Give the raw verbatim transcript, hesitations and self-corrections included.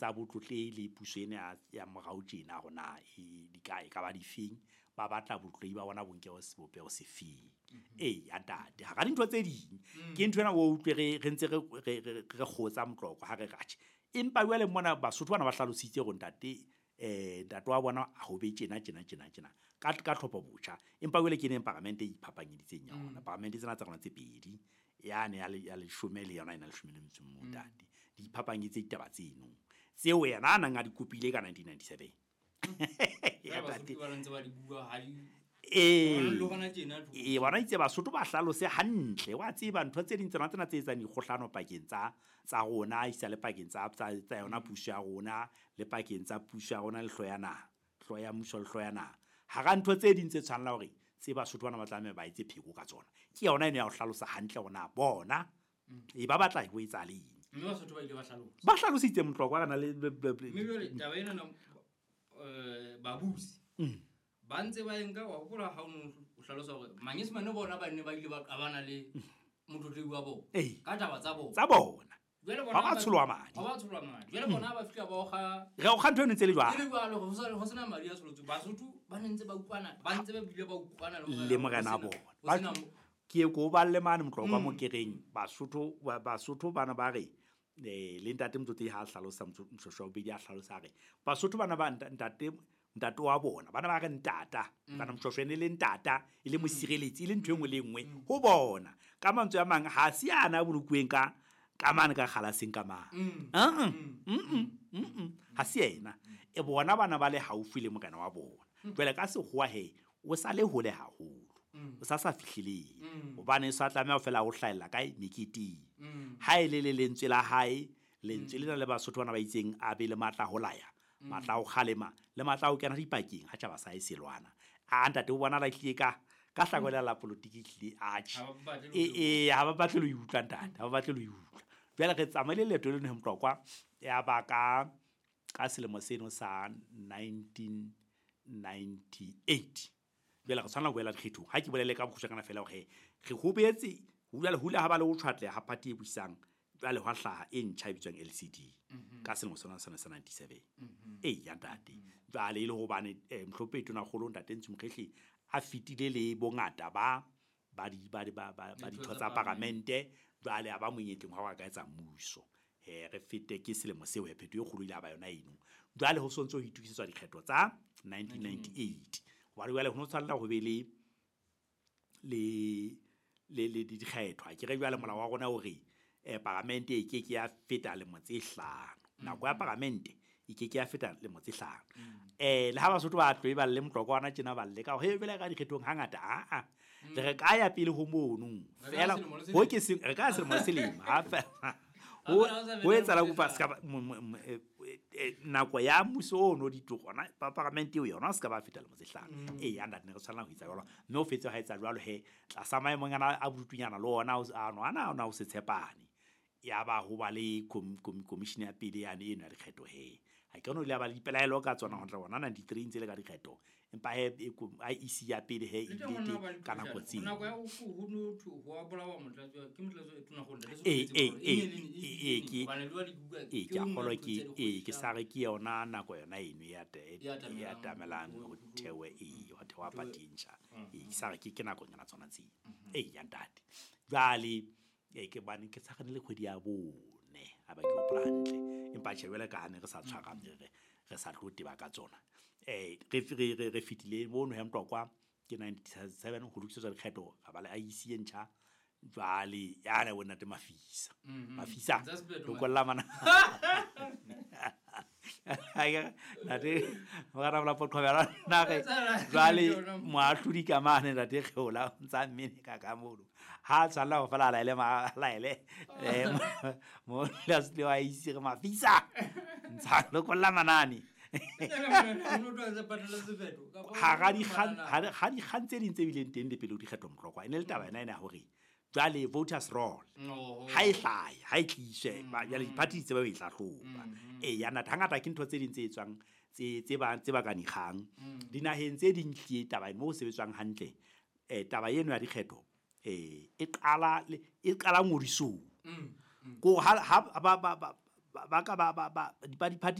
tsa botlotlehi le puso ena ya morao tjena hore na di ka e ka ba difeng, ba batla botlotlehi ba bona bo nke sebopeho sefeng. Ee ya ntate, hara dintho tse ding ke ntho ena o utlwe re re ntse re re re kgotsa moqoqo ha re re atjhe. Empa jwale mona Basotho bana ba hlalositse hore ntate eh ntate wa bona ho be tjena tjena tjena tjena ka ka tlhopho botjha. Empa jwale ke neng paramente e iphapanyeditseng yona. Paramente tsena tsa rona tse pedi, yane ya ya leshome le yona ena leshome le metso e ntate. Di iphapanyeditse ditaba tseno tseo yena a nang a di kopile ka nineteen ninety-seven. Ya Basotho ba ntse ba di bua ha di eh e bona itse Basotho ba hlalose hantle wa tseba ntho tse ding tsena tsena tse etsang dikgohlano pakeng tsa tsa rona isa le pakeng tsa tsa yona puso ya rona le pakeng tsa puso ya rona le hloya naha, hloya mmuso le hloya naha. Hara ntho tse ding tse tshwanela hore tse Basotho bana ba tlameha ba etse pheko ka tsona ke yona eno ya ho hlalosa hantle hore na bona e ba batla ho etsa leng. Mme Basotho ba ile ba hlalosa, ba hlalositse Motlokwa kana le mme jwale taba ena na eh babusi ba ntse ba enka wa hopola ha o o hlalosa hore Manyesemane bona ba ne ba ile ba qabana le motlotlehi wa bona ka taba tsa bona tsa bona jwale bona ba ba tsholwa madi, ba ba tsholwa madi jwale bona ba fihla ba oga re o kga ntho eno ntse le jwalo le jwalo ho sena madi a tsholotse. Basotho ba ne ntse ba utlwana, ba ntse ba bile ba utlwana le morena bona. Ke ko ba le mane Motlokwa mo kereng Basotho Basotho bana ba re eh le ntate Motlotlehi ha hlalosa Moshoeshoe wa bobedi a hlalosa re Basotho bana ba ntate ntate wa bona bana ba re ntata kana Moshoeshoe ne le ntata e le mosireletsi e le ntho e nngwe le nngwe ho bona. Ka mantswe a mang ha se ana a bolokuweng ka ka mane ka kgalaseng ka mang ha se yena e bona bana ba le haufi le morena wa bona. Jwale ka sekgowa he o sa le hole haholo, o sa sa fihlileng hobane sa tlameha ho fela ho hlahella kae meketeng. Ha e le le lentswe la hae, lentswe lena le Basotho bana ba itseng a be le matla ho laya, matla ho kgalema le matla ho kena dipakeng ha tjhaba sa e selwana. A ntate o bona la tlile ka ka hlakola la politiki tlile atjhe e e ha ba batle lo utlwa ntate, ha ba batle lo utlwa. Jwale re tsamaile leeto leno Motlokwa ya ba ka ka selemo seno sa nineteen ninety-eight. Jwale re tshwanela ho boela dikgethong. Ha ke bolele ka bokgutshwanyana fela hore re hobetse jwale hula ha ba le ho tshwatleha ha party e busang jwale hwa hlaha e ntjha e bitswang L C D ka selemo sona sona sa ninety-seven. Ee ya ntate. Jwale e le hobane Mohlomphehi Tonakgolo ntate Ntsu Mokhehle a fetile le bongata ba ba di ba ba ba ditho tsa paramente jwale a ba monyetleng wa ka etsa mmuso. Eh re fete ke selemo seo ya phetho e kgolo ile ba yona eno. Jwale ho sontso ho itukisetswa dikgetho tsa nineteen ninety-eight. Hobane jwale ho no tshwanela ho be le le le le dikgetho. Ke re jwale molao wa rona o re eh paramente e ke ke ya feta lemo tse hlano. Nako ya paramente e ke ke ya feta lemo tse hlano. Eh le ha Basotho ba tlo e ba le Motlokwa ona tjena ba le ka he bele ka dikgethong hangata a a le re ka ya pele ho mono fela ho ke se re ka selemo se lemo ha fela ho ho etsa la kopa ska nako ya mmuso ono ditogona pa paramente eo yona se ka ba feta lemo tse hlano. Ee ya ntate ne re tshwanela ho etsa jwalo mme o fetse ha etsa jwalo he tlasa maemong ana a bodutunyana le ona ano ana ona o se tshepane ya ba ho ba le commission ya pele yane eno ya dikgetho he ha ke no ile ba le dipelaelo ka tsona ho tla bona ninety-three ntse le ka dikgetho empa he I E C ya pele he e ile ka nako tseo nako ya ho ho no ho a bolawa motlatsi ke motlatsi e tona go le e e e ke e ke kgolo ke e ke sa re ke yona nako yona eno ya ya tamelang ho thewe e ho thewa party ntjha e ke sa re ke ke nako nyana tsona tseo e ya ntate. Jwale e ke bane ke sa le kgwedi ya bone ha ba ke hopola hantle empa tjhe jwale ka ha ne re sa tshwara re re sa tlo teba ka tsona eh re re re fitile mono he Motlokwa ke ninety-seven ho lokisetswa dikgetho ga ba le I E C e ntjha jwale yana bona te mafisa mafisa lokolla mana ntate mora bla potqhobela na re jwale moahlodi ka mane ntate Kgeola o ntsa mmene ka ka mono ha tshwanela ho fela laele ma laele mo la se wa ise re mafisa ntsa lokolla manane ha di ha di kgang tse ding tse bileng teng le pele ho dikgetho Motlokwa e ne le taba ena ena hore jwale voters roll ha e hlahe ha e tliswe jwale di-party tse ba e hlahloba e ya ntate hangata ke ntho tse ding tse etswang tse tse ba tse ba ka dikgang dinaheng tse ding tlile taba eno ho sebetswang hantle eh taba eno ya dikgetho eh e qala e qala ngodisong ko ha ba ba ba ka ba ba ba ba diphathi